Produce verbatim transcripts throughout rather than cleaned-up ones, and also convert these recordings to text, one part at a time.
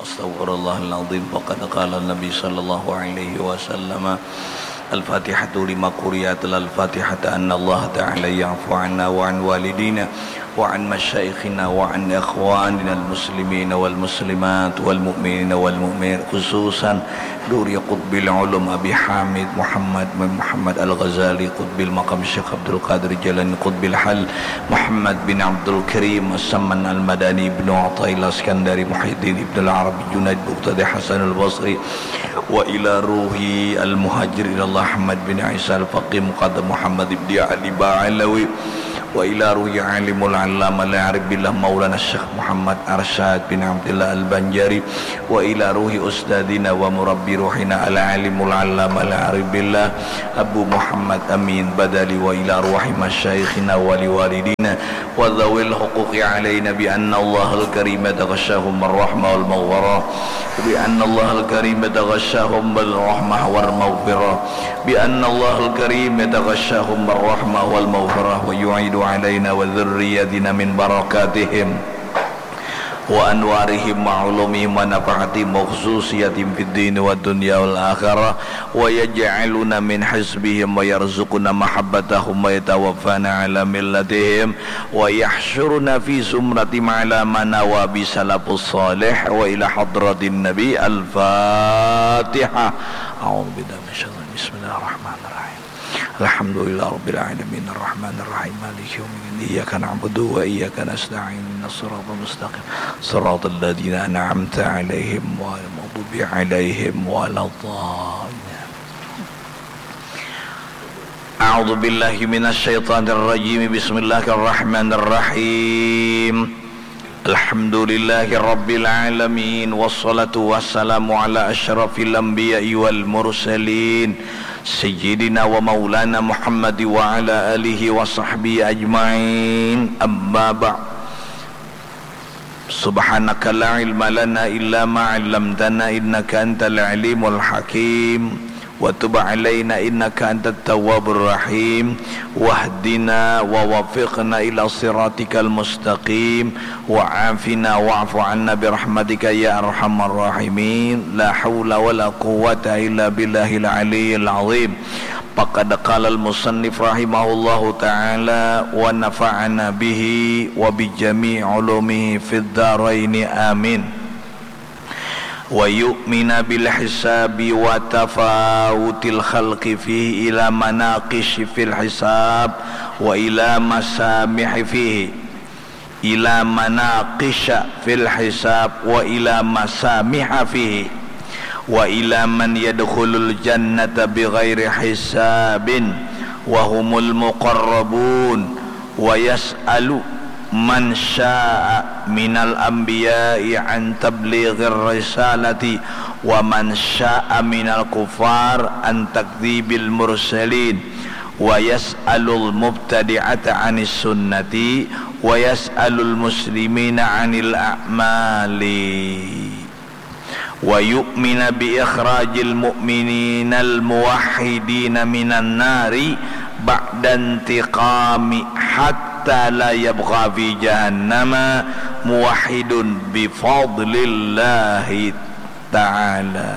Astaghfirullahaladzim. Faqad qala Nabi sallallahu alaihi wasallam, Al-Fatihatu lima quriat lal Fatihata anna Allah ta'ala ya'fu anna wa an walidina wa an masyaikhina wa an ikhwanina al-muslimina wal muslimat wal mu'minina wal mu'minat, khususan Duri Qutbil Ulum Abi Hamid Muhammad bin Muhammad Al-Ghazali Qutbil Maqam Syekh Abdul Qadir Jailani Qutbil Hal Muhammad bin Abdul Karim As-Samman Al-Madani Ibnu Athaillah Iskandari Muhyiddin Ibnu Al-Arabi Junaid Muqtada Hasan Al-Basri wa ila ruhi Al-Muhajir ilallah Ahmad bin Isa Al-Faqih Muqaddam Muhammad ibni Ali Ba'alawi wa ila ruhi Alimul Allamah Al-Arif Billah Maulana Syekh Muhammad Arsyad bin Abdillah Al-Banjari wa ila ruhi ustadzina wa murabbi ruhina al-alimul allamah al-arif billah Abu Muhammad Amin Badali wa ila ruhi masyaikhina wa liwalidina wa dzawil huquqi alaina bi anna Allahal karim yataghashahum ar-rahmah wal maghfirah bi anna Allahal karim yataghashahum bil rahmah wal maghfirah bi anna Allahal karim yataghashahum ar-rahmah wal maghfirah wa yu'idu alaina wa dzurriyyatina min barakatihim wa anwarihim wa ulumihim wa nafahatihim wa khususiyatihim fid dini wad dunya wal akhirah wa yaj'aluna min hizbihim wa yarzuquna mahabbatahum wa yatawaffana ala millatihim wa yahsyuruna fi zumratihim ala ma nawa bi salafus salih wa ila hadratin nabi. Al-Fatihah. A'udzu billahi minasyaitonir rajim. Bismillahirrahmanirrahim. Alhamdulillahirabbil alamin arrahmanirrahim maliki yaumiddin iyyaka na'budu wa iyyaka nasta'in ihdinas siratal mustaqim siratal ladzina an'amta alaihim ghairil maghdubi alaihim waladdallin. A'udzu billahi minasyaitonir rajim. Bismillahirrahmanirrahim. Alhamdulillahi rabbil alamin wassalatu wassalamu ala asyrafil anbiya'i wal mursalin sayyidina wa maulana Muhammad wa ala alihi wa sahbihi ajma'in. Amma ba'd. Subhanaka la ilma lana illa ma 'allamtana innaka antal alimul hakim. Wa tub alaina innaka antat tawwabur rahim. Wahdina wa wafiqna ila siratikal mustaqim. Wa afina wa'fu anna birahmatika ya arhamar rahimin. La haula wa la quwwata illa billahil aliyyil azim. Faqad qalal musannif rahimahullahu ta'ala wa nafa'ana bihi wa bi jami'i ulumihi fid daraini amin. Wa yu'mina bil hisabi wa tafawutil khalqi fihi ila manaqish fil hisab wa ila masamih fihi ila manaqisha fil hisab wa ila masamiha fihi wa ila man yadkhulul jannata bighairi hisabin wa humul muqarrabun wa yas'alu man syaa minal anbiya'i an tablighir risalati wa man syaa minal kufar an takdzibil mursalin wa yas'alul mubtadi'ata anis sunnati wa yas'alul muslimina anil a'mali wa yu'mina bi ikhrajil mu'mininal muwahhidina minan nari ba'da intiqami hatta la yabqa fi jahannama muwahhidun bi fadlillahi ta'ala.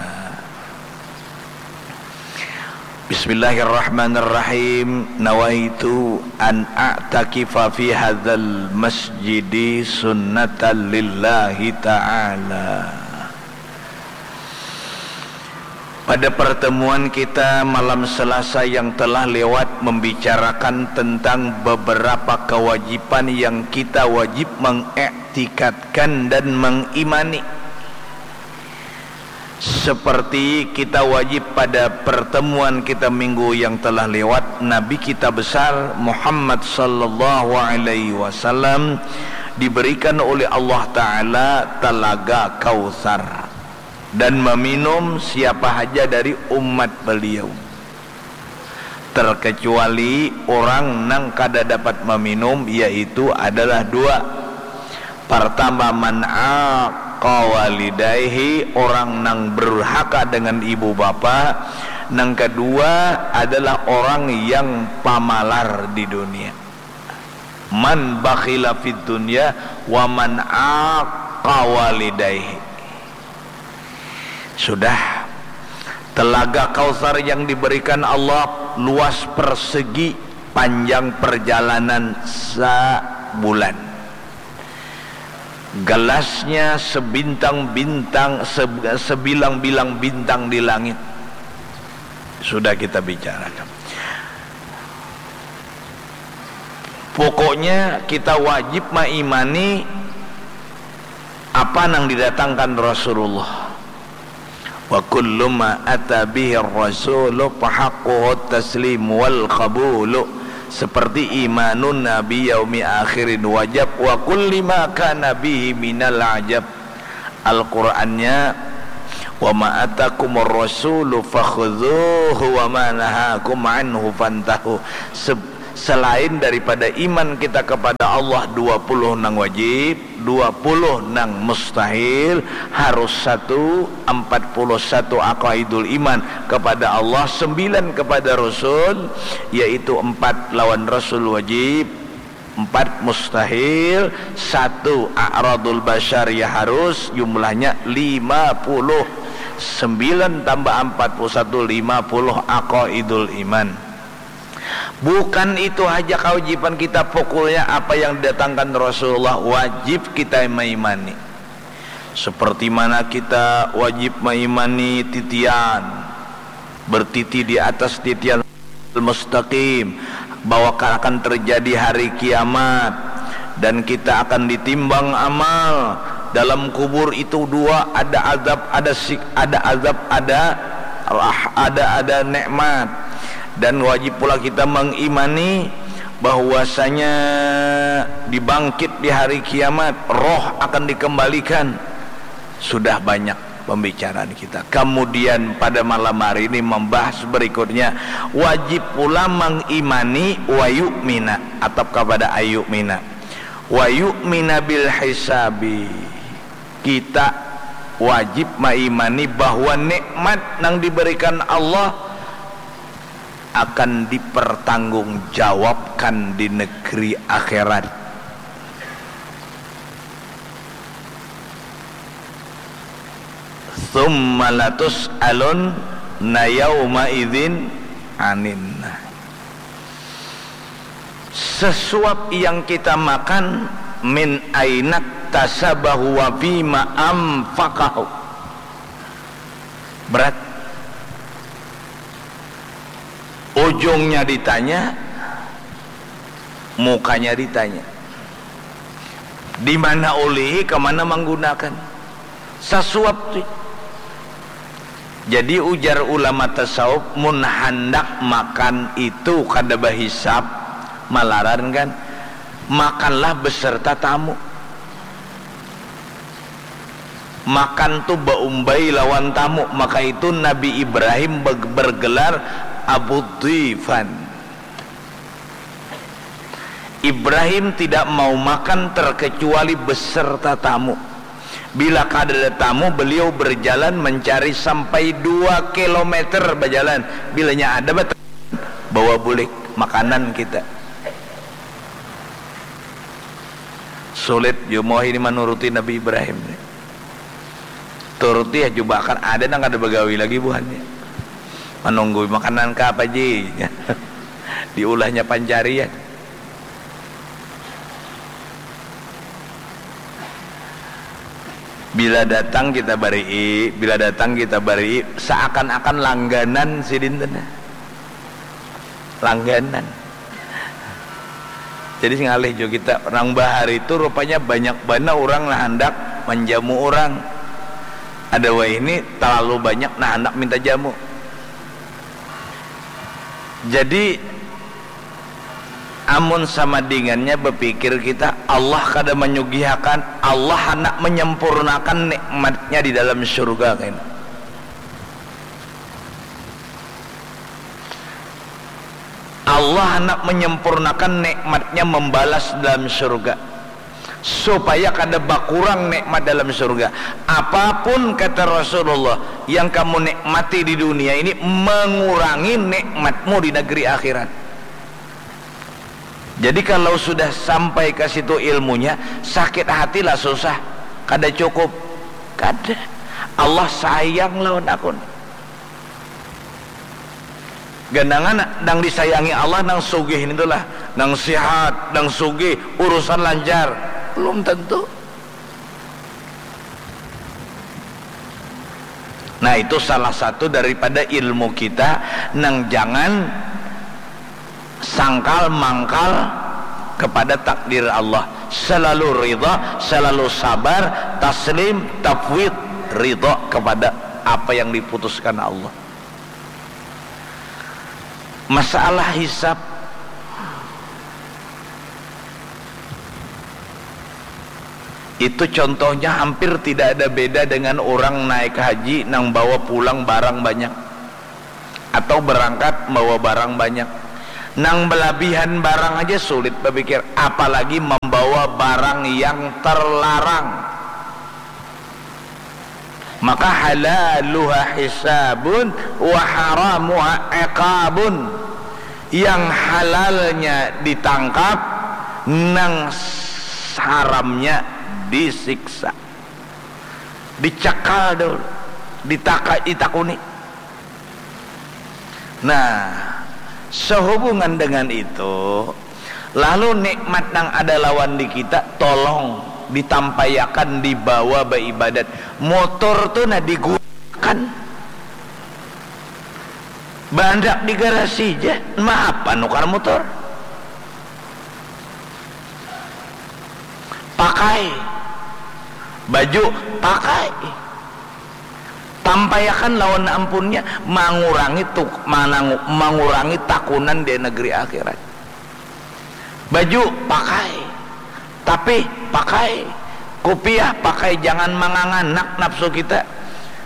Bismillahirrahmanirrahim. Nawaitu an a'takifa fi hadzal masjidi sunnatan lillahi ta'ala. Pada pertemuan kita malam Selasa yang telah lewat membicarakan tentang beberapa kewajiban yang kita wajib mengiktikadkan dan mengimani. Seperti kita wajib pada pertemuan kita minggu yang telah lewat, Nabi kita besar Muhammad sallallahu alaihi wasallam diberikan oleh Allah Ta'ala Telaga Kautsar dan meminum siapa haja dari umat beliau. Terkecuali orang nang kada dapat meminum, yaitu adalah dua. Pertama, man aqa walidaihi, orang nang berdurhaka dengan ibu bapa. Nang kedua adalah orang yang pamalar di dunia. Man bakhila fid dunya wa man aqa walidaihi. Sudah. Telaga Kautsar yang diberikan Allah luas persegi, panjang perjalanan sabulan. Gelasnya sebintang-bintang, se-, sebilang-bilang bintang di langit. Sudah kita bicarakan. Pokoknya kita wajib maimani apa nang didatangkan Rasulullah. Wa kullu ma ata bihi rasulu fahaqquhu taslim wal qabulu. Seperti imanun nabi yaumi akhirin wajab wa kulli ma kana bihi minal ajab. Al-Qur'annya, "Wa ma atakumur rasulu fakhudzuhu wa ma nahakum anhu fantahu." Se-, selain daripada iman kita kepada Allah, dua puluh nang wajib, dua puluh nang mustahil, harus satu, empat puluh satu aqaidul iman kepada Allah, sembilan kepada Rasul, yaitu empat lawan Rasul wajib, empat mustahil, satu a'radul basyar ya harus, jumlahnya lima puluh. Sembilan tambah empat puluh satu, lima puluh aqaidul iman. Bukan itu haja kewajiban kita, pokoknya apa yang didatangkan Rasulullah wajib kita maimani. Seperti mana kita wajib maimani titian, bertiti di atas titian mustaqim, bahwa akan terjadi hari kiamat, dan kita akan ditimbang amal. Dalam kubur itu dua, ada azab, ada sik-, ada azab, ada rah-, ada, ada nikmat. Dan wajib pula kita mengimani bahwasanya dibangkit di hari kiamat, roh akan dikembalikan. Sudah banyak pembicaraan kita. Kemudian pada malam hari ini membahas berikutnya, wajib pula mengimani wa yu'mina, atap kepada ayu'mina. Wa yu'mina bil hisabi. Kita wajib maimani bahwa nikmat nang diberikan Allah akan dipertanggungjawabkan di negeri akhirat. Tsumma latus'alunna yauma idzin anin. Sesuap yang kita makan, min ainaktasabahu wa fima anfaqahu. Berat. Ujungnya ditanya, mukanya ditanya. Di mana ulihi, ke mana menggunakan. Sasuap tu. Jadi ujar ulama tasawuf, mun handak makan itu kada bahisap, malaran kan, makanlah beserta tamu. Makan tu baumbai lawan tamu, maka itu Nabi Ibrahim beg-, bergelar Abu Dhifan. Ibrahim tidak mau makan terkecuali beserta tamu. Bila kada ada tamu, beliau berjalan mencari sampai dua kilometer bajalan. Bilanya ada, bat-, bawa bulik makanan kita. Sulit jua muah ini manuruti Nabi Ibrahim ni. Turuti ya, cuba akan ada nang kada bagawi lagi buhannya. Manunggui makanan ka apa ji? Diulahnya pancarian. Bila datang kita barii, bila datang kita barii, seakan-akan langganan sidin tu nah. Langganan. Jadi ngalih jua kita, nang bahari tu rupanya banyak banar urang nang handak manjamu urang. Ada wahini talalu banyak nang handak minta jamu. Jadi, amun sama dingannya bapikir kita, Allah kada manyugihakan, Allah handak manyempurnakan nikmatnya di dalam surga, kena. Allah handak menyempurnakan nikmatnya membalas dalam surga, supaya kada bakurang nikmat dalam surga. Apapun, kata Rasulullah, yang kamu nikmati di dunia ini mengurangi nikmatmu di negeri akhirat. Jadi kalau sudah sampai ke situ ilmunya, sakit hatilah susah, kada cukup, kada. Allah sayang lawan aku. Ganangan nang disayangi Allah nang sugih ini tulah, nang sihat, nang sugih, urusan lancar. Belum tentu. Nah, itu salah satu daripada ilmu kita nang jangan sangkal mangkal kepada takdir Allah. Selalu ridha, selalu sabar, taslim, tafwid, ridha kepada apa yang diputuskan Allah. Masalah hisab itu contohnya hampir tidak ada beda dengan orang naik haji nang bawa pulang barang banyak atau berangkat bawa barang banyak. Nang belabihan barang aja sulit berpikir, apalagi membawa barang yang terlarang. Maka halaluha hisabun wa haramuha iqabun. Yang halalnya ditangkap, nang haramnya disiksa. Dicekal dulu, ditaka, ditakuni. Nah, sehubungan dengan itu, lalu nikmat nang ada lawan di kita, tolong ditampaiakan, dibawa baibadat. Motor tu nah digunakan. Bandak di garasi ja, ma apa nukar motor? Pakai. Baju, pakai. Tampaiakan lawan ampunnya, mangurangi tuk-, manangu-, mangurangi takunan di negeri akhirat. Baju, pakai. Tapi, pakai. Kupiah, pakai. Jangan manganganak nafsu kita.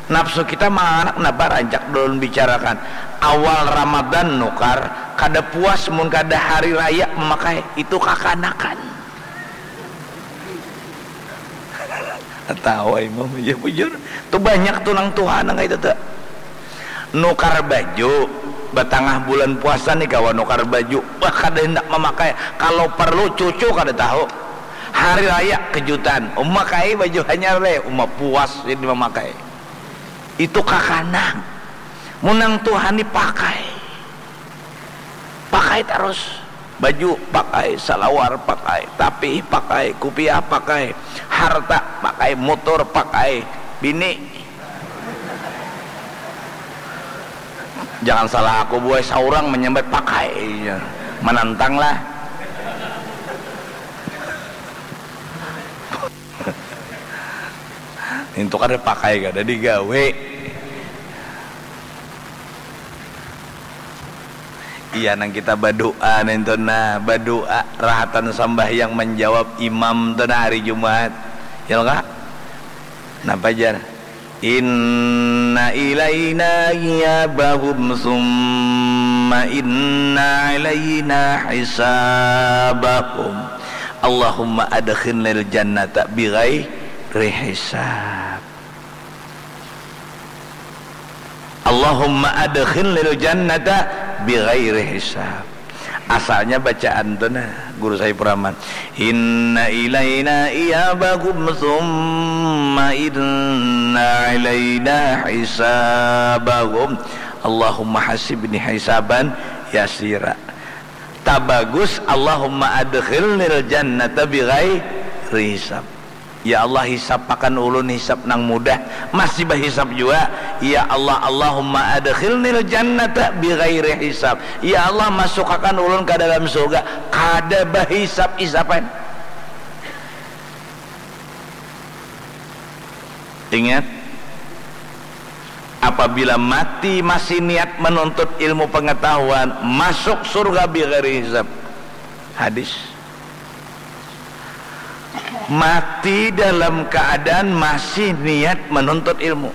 Nafsu kita manganganak, napa rancak ulun bicarakan. Awal Ramadan nukar, kada puas mun kada hari raya memakai. Itu kakanakan. Tahu imam, ya bujur. Tu banyak tu nang tuha nang kaitu tu. Nukar baju, batangah bulan puasa ni kawa nukar baju. Bah, kada handak mamakai. Kalau perlu cucu kada tahu. Hari raya kejutan. Uma kai baju hanyar leh, uma puas jadi mamakai. Itu kakanak. Mun nang tuha ni pakai. Pakai tarus. Baju pakai, salawar pakai, tapih pakai, kupiah pakai, harta pakai, motor pakai, bini. Jangan salah aku buai, saurang manyambat pakai. Iya. Manantang lah. Nintu kada pakai, kada digawe. Iya, nang kita badoa nintu nah, badoa rahatan sambahyang manjawab imam tu nah hari Jumat. Ya kah? Napa jar? Inna ilaina iyabahum summa inna alaina hisabahum. Allahumma adkhilnil jannata bighairi hisab. Allahumma adkhilnil jannata bighairi hisab. Asalnya bacaan tu nah, Guru Saifur Rahman. Inna ilaina iyabahum summa inna alaina hisabahum. Allahumma hasibni hisaban yasira. Tabagus, Allahumma adkhilnil jannata bighairi hisab. Ya Allah, hisapakan ulun hisap nang mudah. Masih bahisap jua. Ya Allah, Allahumma adkhilnil jannata bighairi hisab. Ya Allah, masukakan ulun ka dalam surga kada bahisap-hisapan. Ingat, apabila mati masih niat menuntut ilmu pengetahuan, masuk surga bighairi hisab. Hadis. Mati dalam keadaan masih niat menuntut ilmu.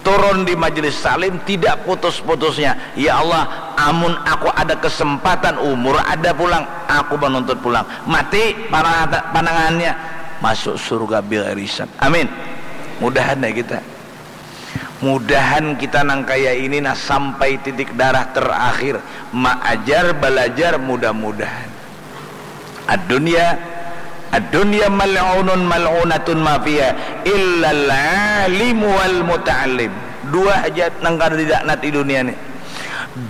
Turun di majelis taklim tidak putus-putusnya. Ya Allah, amun aku ada kesempatan, umur ada pulang, aku menuntut pulang. Mati, panangan-, panangannya masuk surga bighairi hisab. Amin. Mudahan ya kita. Mudahan kita nang kaya ini nah sampai titik darah terakhir. Maajar, balajar, mudah-mudahan. Ad-dunya Ad-dunya mal'unun mal'unatun ma fiha illal alim wal muta'allim. Dua haja nang kada dilaknat di dunia ni.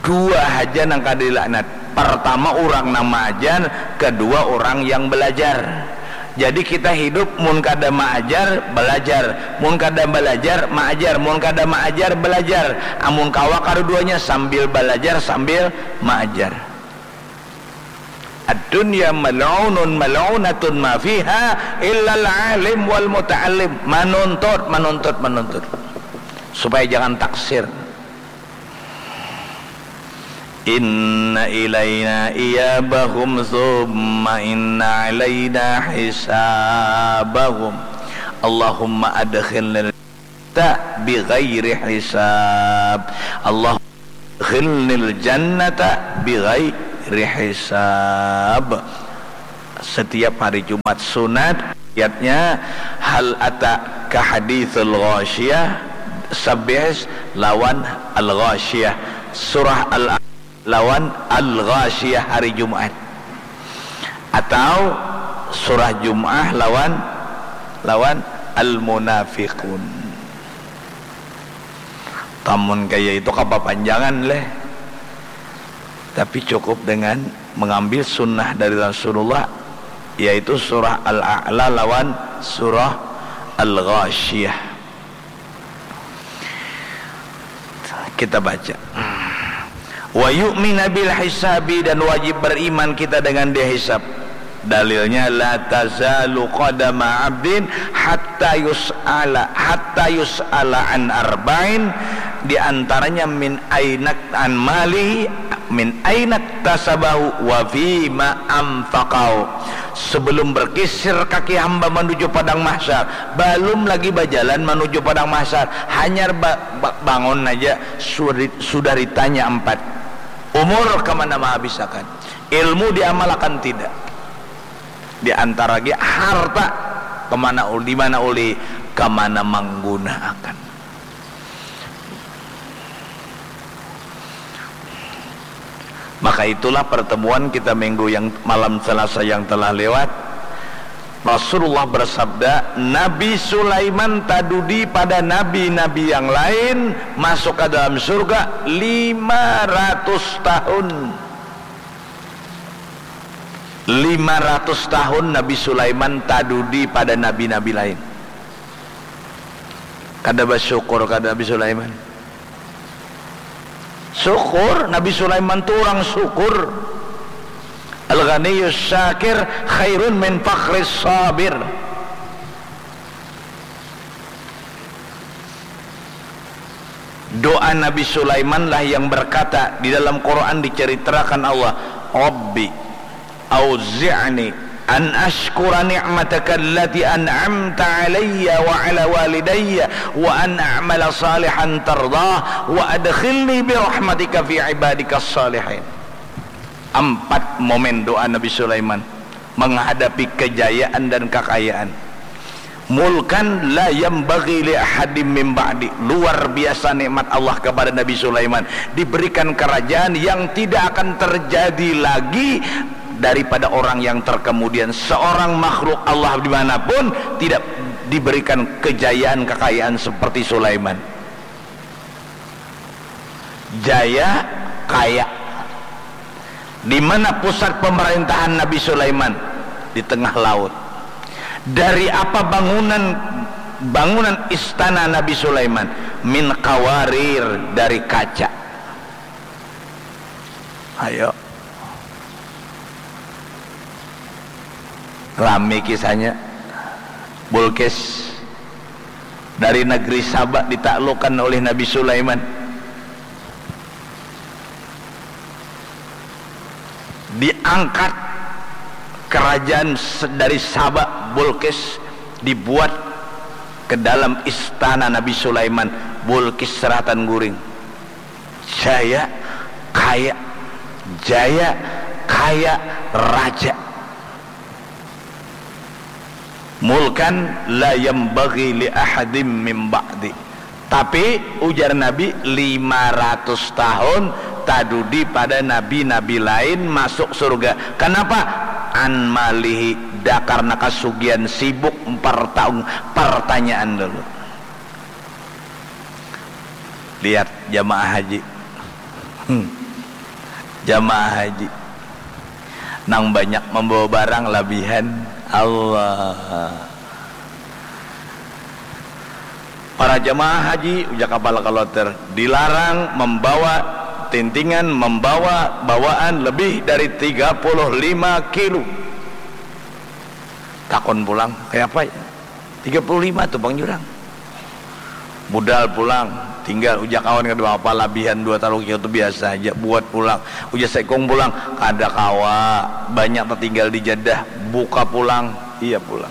Dua haja nang kada dilaknat. Pertama, urang nang maajar, kedua, urang yang belajar. Jadi kita hidup, mun kada maajar, belajar, mun kada belajar, maajar, mun kada maajar, belajar. Amun kawa kaduduanya, sambil belajar sambil maajar. Ad-dunya mal'unun mal'unatun ma fiha illal alim wal muta'allim. Manuntut, manuntut, manuntut. Supaya jangan taksir. Inna ilaina iyabahum thumma inna alaina hisabahum. Allahumma adkhilnil jannata bighairi hisab. Allahumma adkhilnil jannata bighairi hisab. Setiap hari Jumat sunat, ayatnya hal ataka haditsul ghasyiyah, Sabbih lawan Al-Ghasyiyah, surah Al lawan Al-Ghasyiyah hari Jumat, atau surah Jum'ah lawan lawan Al-Munafiqun. Tamun kaya itu kapapanjangan leh, tapi cukup dengan mengambil sunnah dari Rasulullah, yaitu surah Al-A'la lawan surah Al-Ghasyiyah. Kita baca. Wa yu'mina bil hisabi, dan wajib beriman kita dengan dia hisab. Dalilnya, la tazalu qadama abdin hatta yus'ala, hatta yus'ala an arba'in, di antaranya min ainak an mali, min ainak tasabahu wa fima anfaqahu. Sebelum berkisir kaki hamba menuju padang mahsyar, balum lagi bajalan menuju padang mahsyar, hanyar ba- ba- bangun aja sudah, sudah ditanya empat. Umur kemana menghabisakan, ilmu diamalakan tidak, di antara lagi harta kemana ul- di mana uli kemana menggunaakan. Maka itulah pertemuan kita minggu yang malam Selasa yang telah lewat. Rasulullah bersabda, Nabi Sulaiman tadudi pada nabi-nabi yang lain masuk ke dalam surga lima ratus tahun. Lima ratus tahun Nabi Sulaiman tadudi pada nabi-nabi lain. Kada basyukur kada Nabi Sulaiman. Syukur, Nabi Sulaiman tu urang syukur. Al-ghaniyus syakir khairun min fakhris sabir. Doa Nabi Sulaiman lah yang berkata, di dalam Quran diceritakan Allah, Rabbi, auzi'ni an ashkura ni'mataka allati an'amta alayya wa ala walidayya wa an a'mala salihan tardah wa adkhilni bi rahmatika fi ibadika salihin. Empat momen doa Nabi Sulaiman menghadapi kejayaan dan kekayaan. Mulkan la yambagi li ahadim min ba'di. Luar biasa nikmat Allah kepada Nabi Sulaiman. Diberikan kerajaan yang tidak akan terjadi lagi daripada orang yang terkemudian. Seorang makhluk Allah dimanapun tidak diberikan kejayaan, kekayaan seperti Sulaiman. Jaya, kaya. Di mana pusat pemerintahan Nabi Sulaiman? Di tengah laut. Dari apa bangunan bangunan istana Nabi Sulaiman? Min qawarir, dari kaca. Ayo. Rami kisahnya. Bulkis dari negeri Sabak ditaklukkan oleh Nabi Sulaiman. Diangkat kerajaan se- dari Sabak, Bulkis dibuat ke dalam istana Nabi Sulaiman. Bulkis seratan guring. Jaya, kaya, jaya, kaya, raja. Mulkan la yambagi li ahadim min ba'di. Tapi ujar Nabi, lima ratus tahun tadudi pada nabi-nabi lain masuk surga. Kenapa? an malihi, dakar na kasugihan, sibuk partaung, partanyaan dulu. Lihat jamaah haji. Hmm. Jamaah haji. Nang banyak membawa barang labihan. Allah. Para jamaah haji, ujar kapala kloter, dilarang membawa tintingan, membawa bawaan lebih dari tiga puluh lima kilo. Takon pulang, kaya apa ya? Tiga puluh lima tu pang jurang. Budal pulang, tinggal ujar kawan kada apa, labihan dua talu kilo tu biasa aja, buat pulang. Ujar saikung pulang, kada kawa, banyak tatinggal di Jeddah, buka pulang, iya pulang.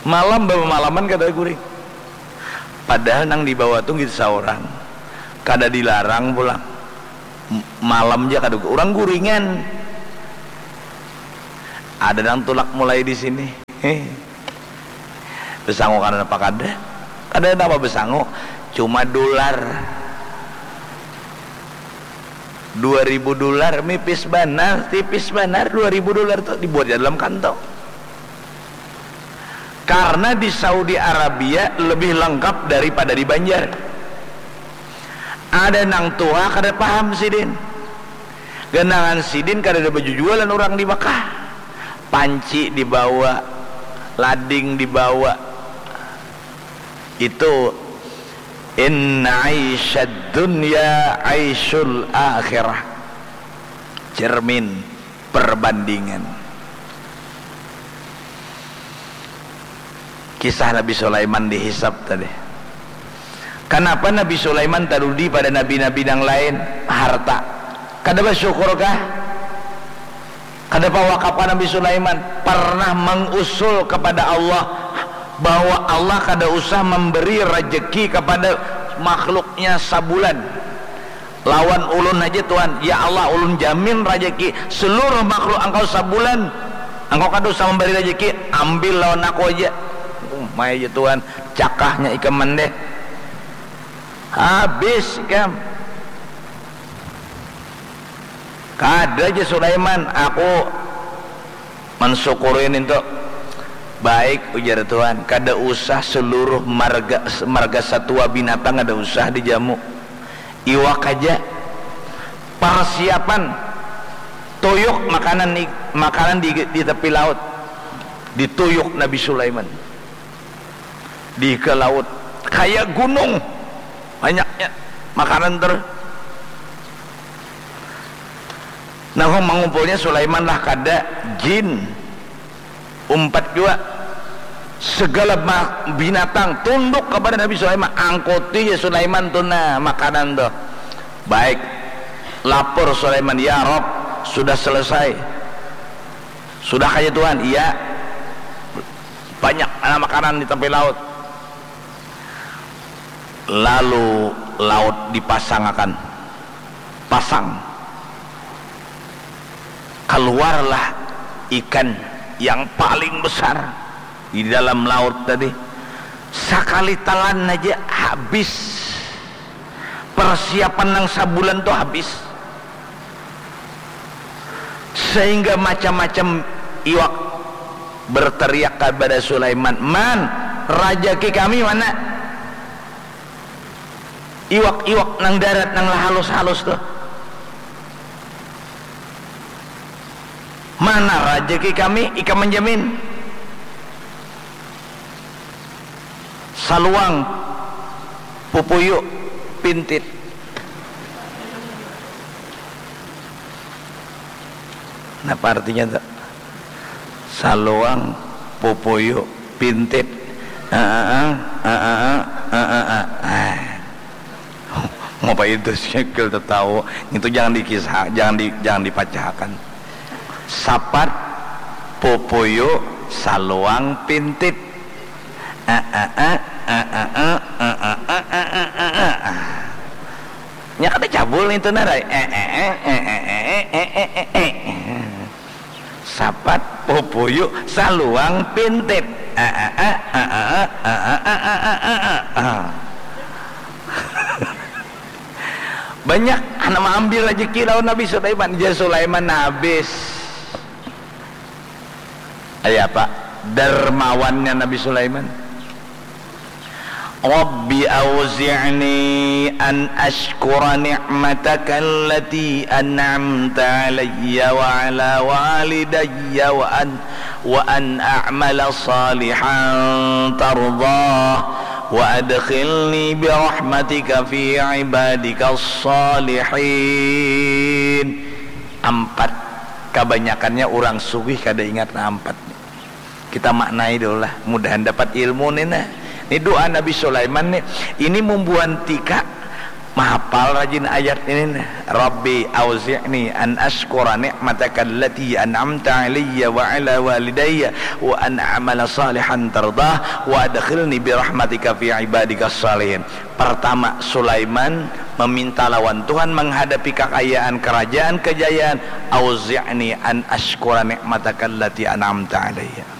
Malam bamalaman kada guring. Padahal nang dibawa tu nggih saurang. Kada dilarang pulang. M-, malam ja kada gu-, urang guringan. Ada nang tulak mulai di sini. Heh. Besangu karena apa kada? Kada napa besangu. Cuma dolar. Dua ribu dolar, mipis banar, tipis banar, dua ribu dolar tu dibuat ja dalam kantong. Karena di Saudi Arabia lebih lengkap daripada di Banjar. Ada nang tuha kada paham sidin. Ganangan sidin kadada baju jua lawan urang di Makkah. Panci dibawa, lading dibawa. Itu, "Inna aisyad dunya aisyul akhirah." Cermin perbandingan. Kisah Nabi Sulaiman dihisab tadi. Kanapa Nabi Sulaiman tarudi pada nabi-nabi nang lain? Harta. Kada basyukur kah? Kada pawakap kah Nabi Sulaiman pernah mengusul kepada Allah bahwa Allah kada usah memberi rejeki kepada makhluknya sabulan? Lawan ulun haja, Tuhan. Ya Allah, ulun jamin rajaki seluruh makhluk Engkau sabulan. Engkau kada usah memberi rajaki, ambil lawan aku aja. Umai aja, Tuhan, cakahnya ikam mandeh. Habis ikam. Kada aja Sulaiman, aku mensyukuri nintu. Baik, ujar Tuhan, kada usah seluruh marga, marga satua binatang kada usah dijamu. Iwak aja. Persiapan tuyuk makanan ni, makanan di, di tepi laut. Dituyuk Nabi Sulaiman. Di ke laut. Kaya gunung. Banyaknya makanan ter. Nah, mangumpulnya Sulaiman lah kada, jin. Umpat jua. Segala ma-, binatang tunduk kepada Nabi Sulaiman. Angkuti ja Sulaiman tu nah makanan tu. Baik. Lapor Sulaiman, "Ya Rob, sudah selesai." "Sudah kaya Tuhan?" "Iya." "Banyak anak makanan di tepi laut." Lalu laut dipasangakan. Pasang. Keluarlah ikan yang paling besar di dalam laut tadi. Sakali telan aja habis. Persiapan nang sabulan tu habis. Sehingga macam-macam iwak berteriak kepada Sulaiman, "Man, rajaki kami mana? Iwak-iwak nang darat nang halus-halus tu. Mana rajaki kami? Ikam menjamin." Saluang, pupuyu, pintit. Napa artinya tu? Saluang, pupuyu, pintit. Aa, aa, aa, aa, aa. Ngapa itu sikil tetawa? Itu jangan dikisah, jangan di, jangan dipacahakan. Sapat, pupuyu, saluang, pintit. Nya kada cabul itu nah, Rai. Sapat, pupuyu, saluang, pintit. Banyak anak maambil rajaki lawan Nabi Sulaiman. Jar Sulaiman habis. Kaya apa dermawannya Nabi Sulaiman? Rabbi auzi'ni an ashkura ni'mataka allati an'amta alayya wa ala walidayya wa an wa an a'mala salihan tardah wa adkhilni bi rahmatika fi ibadika salihin. Ampat, kabanyakannya urang sugih kada ingat na ampat ni. Kita maknai dulu lah, mudahan dapat ilmu ni nah. Ni doa Nabi Sulaiman ni, ini mumbuan tika mahapal rajin ayat ini nah. Rabbi auzi'ni an ashkura ni'mataka allati an'amta alayya wa ala walidayya wa an a'mala salihan tardah wa adkhilni bi rahmatika fi ibadika salihin. Pertama, Sulaiman meminta lawan Tuhan menghadapi kakayaan kerajaan kejayaan, auzi'ni an ashkura ni'mataka allati an'amta alayya.